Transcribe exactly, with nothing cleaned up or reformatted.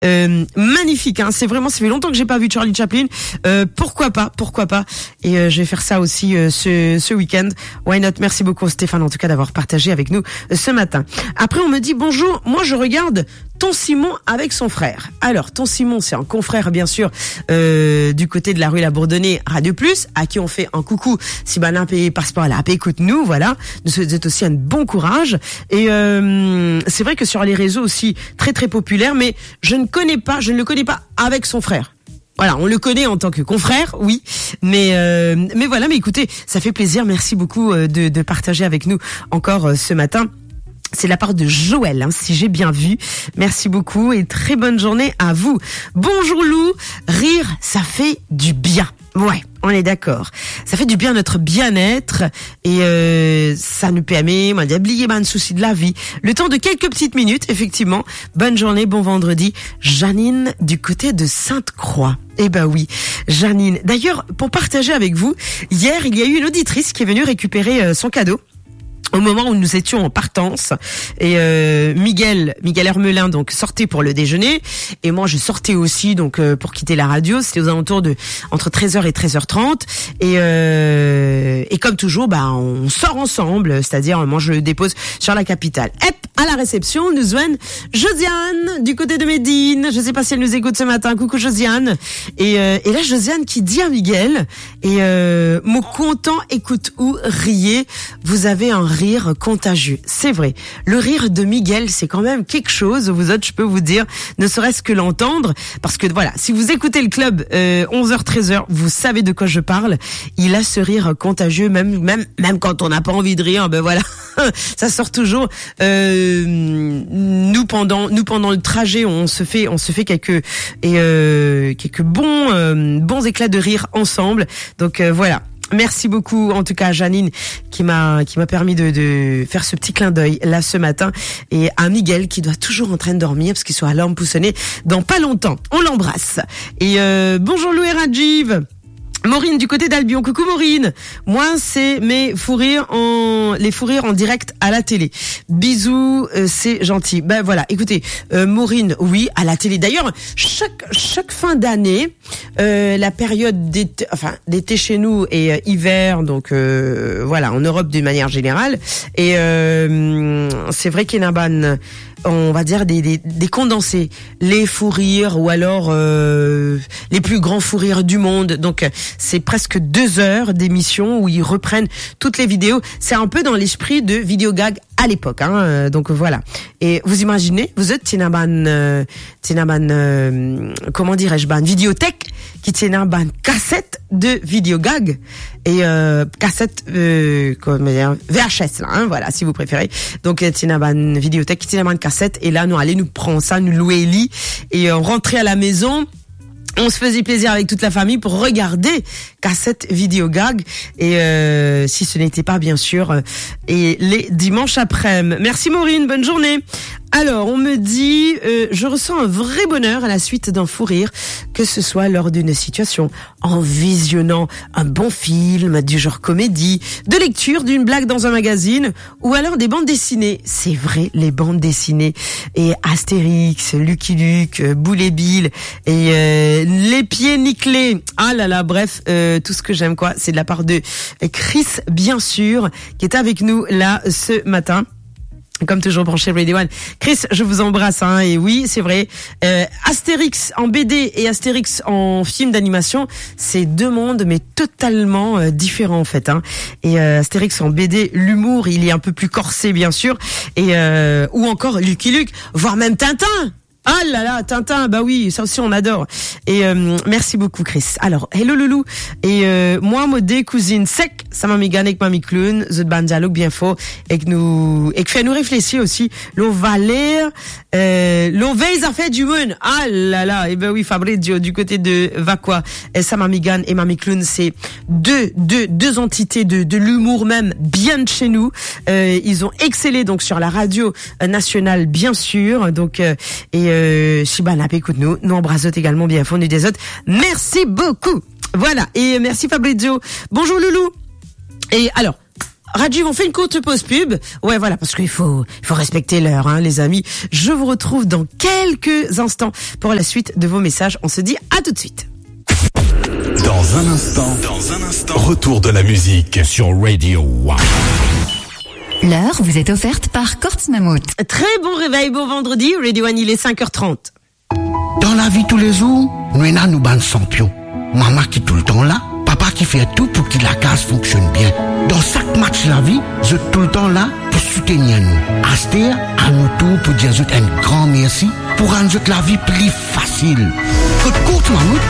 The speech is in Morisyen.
Euh, magnifique, hein. C'est vraiment, ça fait longtemps que j'ai pas vu Charlie Chaplin. Euh, pourquoi pas, pourquoi pas. Et euh, je vais faire ça aussi euh, ce, ce week-end. Why not ? Merci beaucoup Stéphane, en tout cas, d'avoir partagé avec nous euh, ce matin. Après, on me dit : « Bonjour, moi je regarde Ton Simon avec son frère. » Alors, Ton Simon, c'est un confrère, bien sûr, euh, du côté de la rue La Bourdonnais, Radio Plus, à qui on fait un coucou. Si bann pe pas par la, pe écoute nous, voilà. Nous souhaitons aussi un bon courage. Et euh, c'est vrai que sur les réseaux aussi, très, très populaire, mais je ne connais pas, je ne le connais pas avec son frère. Voilà, on le connaît en tant que confrère, oui, mais euh, mais voilà, mais écoutez, ça fait plaisir. Merci beaucoup euh, de, de partager avec nous encore euh, ce matin. C'est de la part de Joël, hein, si j'ai bien vu. Merci beaucoup et très bonne journée à vous. Bonjour Lou, rire, ça fait du bien. Ouais, on est d'accord. Ça fait du bien à notre bien-être et euh, ça nous permet, on va dire, d'oublier ben, le souci de la vie. Le temps de quelques petites minutes, effectivement. Bonne journée, bon vendredi. Janine du côté de Sainte-Croix. Eh ben oui, Janine. D'ailleurs, pour partager avec vous, hier, il y a eu une auditrice qui est venue récupérer euh, son cadeau au moment où nous étions en partance. Et euh, Miguel, Miguel Hermelin, donc, sortait pour le déjeuner. Et moi, je sortais aussi, donc, euh, pour quitter la radio. C'était aux alentours de entre treize heures et treize heures trente. Et, euh, et comme toujours, bah, on sort ensemble. C'est-à-dire, moi, je le dépose sur la capitale. Hop, à la réception, nous joignent Josiane, du côté de Médine. Je sais pas si elle nous écoute ce matin. Coucou, Josiane. Et, euh, et là, Josiane qui dit à Miguel, et euh, « Mo kontan ekout ou riye, vous avez un rire contagieux. » C'est vrai, le rire de Miguel, c'est quand même quelque chose, vous autres, je peux vous dire, ne serait-ce que l'entendre, parce que voilà, si vous écoutez le club euh, onze heures treize heures, vous savez de quoi je parle, il a ce rire contagieux, même, même, même quand on n'a pas envie de rire, ben voilà, ça sort toujours. Euh, nous, pendant, nous, pendant le trajet, on se fait, on se fait quelques, et, euh, quelques bons, euh, bons éclats de rire ensemble. Donc euh, voilà. Merci beaucoup, en tout cas, à Janine, qui m'a, qui m'a permis de, de faire ce petit clin d'œil là ce matin, et à Miguel, qui doit toujours en train de dormir, parce qu'il sera à l'heure pour sonner dans pas longtemps. On l'embrasse. Et euh, bonjour Lou et Rajiv. Maureen du côté d'Albion. Coucou Maureen. Moi, c'est mes fous rires en, les fous rires en direct à la télé. Bisous, euh, c'est gentil. Ben voilà, écoutez, euh, Maureen, oui, à la télé. D'ailleurs, chaque, chaque fin d'année, euh, la période d'été, enfin, d'été chez nous et euh, hiver, donc euh, voilà, en Europe de manière générale. Et euh, c'est vrai qu'il y en a, ben, on va dire des, des, des condensés, les fous rires ou alors euh, les plus grands fous rires du monde. Donc euh, c'est presque deux heures d'émission où ils reprennent toutes les vidéos. C'est un peu dans l'esprit de Vidéogag à l'époque, hein, euh, donc voilà. Et vous imaginez, vous êtes, ti ena bann, euh, ti ena bann, euh, comment dirais-je, bann vidéothèque, ki ti ena bann kaset de Vidéogag, et euh, kaset euh, comment dire, V H S là, hein, voilà, si vous préférez. Donc euh, ti ena bann vidéothèque, ti ena bann kaset, et là nou ale, nou pran sa, nou lwe li, et euh, on rentrait à la maison, on se faisait plaisir avec toute la famille pour regarder kaset Vidéogag, et euh, si ce n'était pas bien sûr euh, et les dimanches après-midi. Merci Maureen, bonne journée. Alors, on me dit, euh, je ressens un vrai bonheur à la suite d'un fou rire, que ce soit lors d'une situation, en visionnant un bon film du genre comédie, de lecture d'une blague dans un magazine, ou alors des bandes dessinées. C'est vrai, les bandes dessinées. Et Astérix, Lucky Luke, euh, Boule et Bill, et euh, Les Pieds Nickelés. Ah là là, bref, euh, tout ce que j'aime, quoi. C'est de la part de Chris, bien sûr, qui est avec nous là ce matin. Comme toujours branché Radio One. Chris, je vous embrasse, hein, et oui, c'est vrai. Euh, Astérix en B D et Astérix en film d'animation, c'est deux mondes, mais totalement euh, différents en fait, hein. Et euh, Astérix en B D, l'humour, il est un peu plus corsé, bien sûr, et euh, ou encore Lucky Luke, voire même Tintin. Ah là là, Tintin, bah oui, ça aussi on adore. Et euh, merci beaucoup Chris. Alors, hello loulou. Et euh, moi, mo de kouzinn sek, sa Mami Gann ek Mami Clown, zot bann dialog bien for, ek nou, ek fer nou reflesi osi, lor valer, euh, lor vey zafer dimoun. Ah là là, eh ben oui, Fabrizio, du côté de Vacoas, euh, sa Mami Gann et Mami Clown, c'est deux, deux, deux entités de, de l'humour même, bien de chez nous. Euh, ils ont excellé donc sur la radio euh, nationale, bien sûr. Donc, euh, et euh, si bann pe ekout nou, nou anbras zot egalman bien for, nou dir zot merci beaucoup. Voilà, et merci Fabrizio. Bonjour loulou. Et alors, Rajiv, on fait une courte pause pub. Ouais, voilà, parce qu'il faut, il faut respecter l'heure, hein, les amis. Je vous retrouve dans quelques instants pour la suite de vos messages. On se dit à tout de suite. Dans un instant, dans un instant, retour de la musique sur Radio One. L'heure vous est offerte par Courts Mammouth. Très bon réveil, bon vendredi, Radio One, il est cinq heures trente. Dan lavi toulezour, nou ena nou bann sanpion. Mama ki toultan la, papa ki fer tou pou ki lakaz fonksionn bien. Dan sak match lavi, zot toultan la pou soutenir nou. Aster, a nou tour pou dir zot enn gran mersi pou rann zot lavi pli fasil. Kot Courts Mammouth,